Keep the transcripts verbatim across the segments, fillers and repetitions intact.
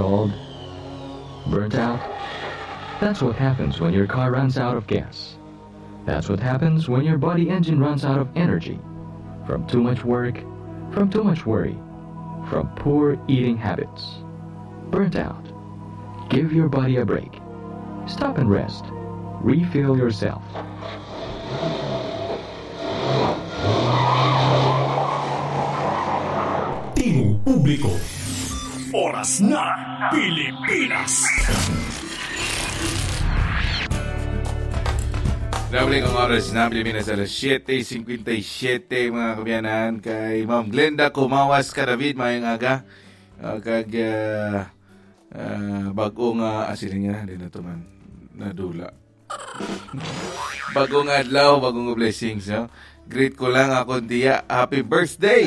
Stalled? Burnt out? That's what happens when your car runs out of gas. That's what happens when your body engine runs out of energy. From too much work, from too much worry, from poor eating habits. Burnt out. Give your body a break. Stop and rest. Refuel yourself. Tingog publiko. Oras na, Pilipinas. Nabalik ang oras na Pilipinas, alas siyete cincuenta y siete, mga kabiyanan, kay Ma'am Glenda Kumawas ka David, mayong aga. Ah, kag ah, ah, bag-o nga, ah, sila nga, di na to man, nadula. Bagong adlaw, bagong blessings, no? Greet ko lang ako diya. Happy birthday!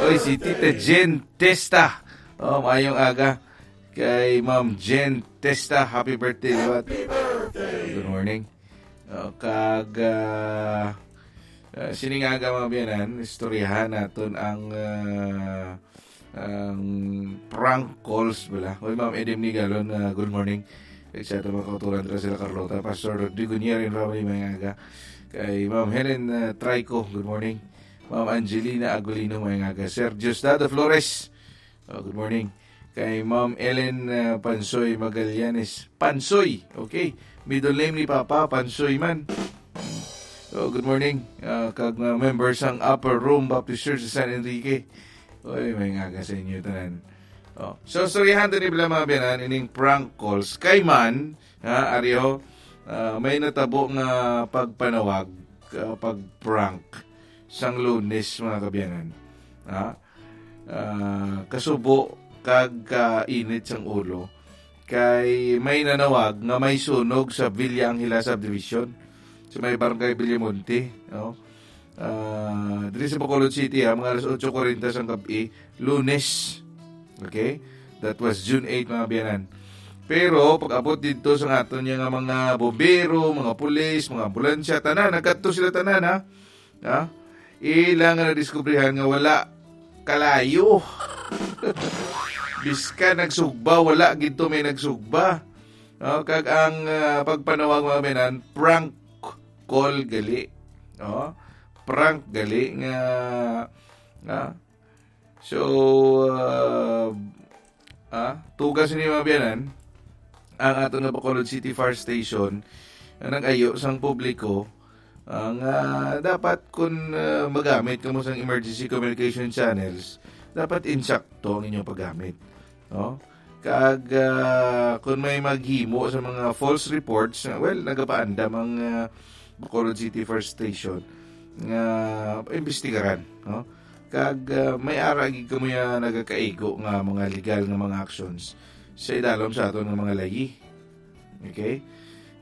Oy, si Tita Jen Testa. Oh, mayong aga kay Ma'am Jen Testa. Happy birthday, liwat. Good morning. Oh, kag ah, ah, sining aga, mga biyanan, istoryahan naton ang ah, ang prank calls bala. Oy, Ma'am Edem Nigalon, ah, good morning. Kag sa ato mga kauturan dira sila Carlota, Pastor Rodrigo Nier and Ramay, mayong aga. Kay Ma'am Helen ah, Trico, good morning. Ma'am Angelina Agulino, mayong aga. Sir Diosdado Flores, oh, good morning. Kay Ma'am Ellen ah, Pansoy Magallanes, Pansoy, okay. Middle name ni Papa, Pansoy man. Oh, good morning. Ah, kag mga member sang Upper Room Baptist Church sa San Enrique. Oy, mayong aga sa inyo tanan. Oh. So, istoryahan ta ni bala, mga biyanan, ining prank calls. Kay man, ha, ari ho, ah, may natabo nga pagpanawag, ah, pag-prank sang Lunes, mga kabiyanan. Ha? Ah, kasubo kag kainit sang ulo, kay may nanawag nga may sunog sa Villa Angela Subdivision, sa may Barangay Villamonte, no? Ah, diri sa Bacolod City, ha, mga alas otso kuwarenta sang gab-i, Lunes. Okay? That was June eight, mga biyanan. Pero pag-abot didto sa aton nga mga bombero, mga pulis, mga ambulansya, tanan, nagkadto sila tanan, ha? Ha? Ila nga nadiskubrihan nga wala kalayo. Bisan nagsugba, wala gid to may nagsugba. No? Kag ang ah, pagpanawag, mga biyanan, prank call gali. No? Prank gali nga, ah, so, ah, ah, tugas ni, mga biyanan, ang ato nga Bacolod City Fire Station nga nag-ayo sang publiko, ah, nga dapat kun ah, magamit kamo sang emergency communication channels, dapat insakto ang inyong paggamit, no? Kag ah, kun may maghimo sa mga false reports, ah, well, nagapaandam ang ah, Bacolod City Fire Station nga imbestigaran, no? Kag ah, may ara gid kamo ya nagakaigo nga mga legal nga mga actions sa idalom sa aton nga mga layi. Okay?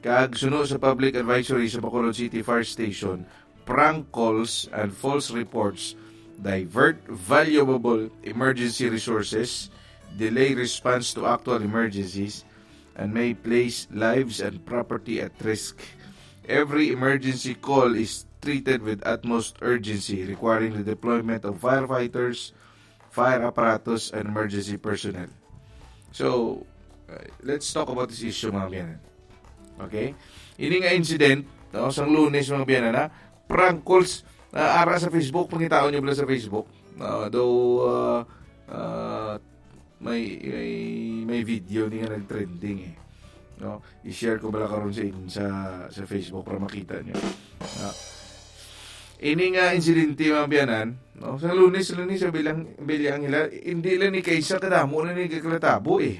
Kag suno sa public advisory sa Bacolod City Fire Station, prank calls and false reports divert valuable emergency resources, delay response to actual emergencies, and may place lives and property at risk. Every emergency call is treated with utmost urgency, requiring the deployment of firefighters, fire apparatus, and emergency personnel. So, uh, let's talk about this issue, mga biyanan. Okay? Ini nga incident, no, sang Lunes, mga biyanan, ha? Prank calls, uh, ara sa Facebook, pangitaon nyo bala sa Facebook. Uh, though, uh, uh, may, may, may video ni nga nag-trending eh. No? I-share ko bala karon sa, in- sa, sa Facebook para makita nyo. No? Ini nga insidente, mga biyanan, no? Sa Lunes, Lunes, sa Bilang, Bilyang Hila, hindi lang ni kaysa kadamo na ni nagkakatabo eh.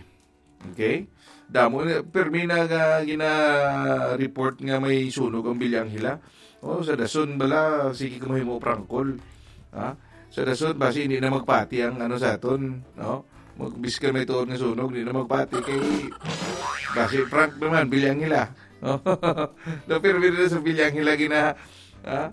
Okay? Damo na, permi na nga gina-report nga may sunog ang Bilyang Hila. Oh, sa dason bala, sige ka mahimo prangkol. Ha? Sa dason, basi hindi na magpati ang ano sa aton, no? Mag, biskan may tuod nga sunog, hindi na magpati kay basi prank naman, Bilyang Hila. No? No, pero biro sa Bilyang Hila gina, ha?